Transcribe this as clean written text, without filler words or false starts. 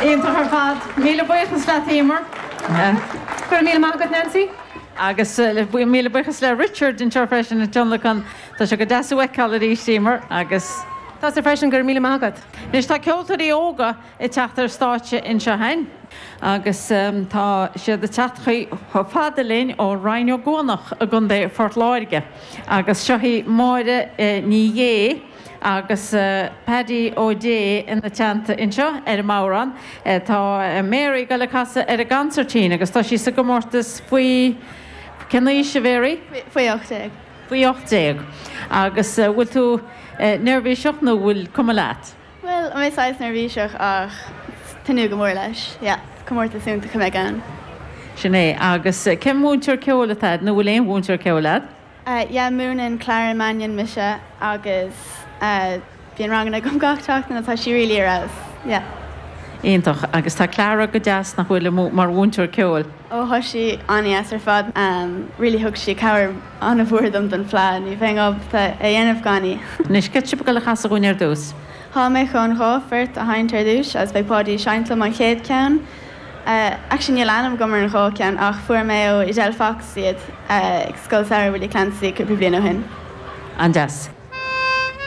Iontach ar fad. Míle buíochas leat, Emer. Go raibh míle maith agat, Nancy. Agus míle buíochas le Richard anseo freisin ag tionlacan. Tá sé go deas thú a fheiceáil arís, Emer, agus. Tusa freisin, go raibh míle maith agat. Anois tá ceoltóirí óga ag teacht ar stáitse anseo againn agus tá siad ag teacht chomh fada linn ó Rinn Ó gCuanach i gContae Phort Láirge agus seo í Máire Ní Dhé agus Paddy Ó Dé ina teannta anseo ar an mbodhrán. Tá Mary ag dul ag casadh ar an gconsairtín agus tá sí sa gcomórtas faoi, cén aois a Mhary? Faoi 18. Faoi 18. Agus bhfuil tú neirbhíseach nó bhfuil cuma leat? Bhuel, tá mé saghas neirbhíseach ach tnúth go mór leis. Yeah, comórtas iontach a bheidh ann. Sin é. Agus cén mhúinteoir ceoil atá agat nó bhfuil aon mhúinteoir ceoil agat? Yeah, múineann Clara Mannion mise agus bíonn ranganna agam gach seachtain agus tá sí really ar fheabhas. Yeah. Iontach. Agus tá Clara go deas, nach bhfuil, mar mhúinteoir ceoil? Ó, tá sí an-dheas ar fad. Really thug sí cabhair an-mhór dom don Fleadh. Ní bheinn ábalta é a dhéanamh gan í. Anois, céard tá sibh ag dul a chasadh dhúinn ar dtús? Tá mé chun 2 phort a sheinnt ar dtús agus beidh Páidí ag seinnt liom an chéad ceann. Actually níl ainm agam ar an 2 ceann ach fuair mé ó Edel Fox iad ag Scoil Samhraidh Willie Clancy cúpla bliain ó shin. An-deas.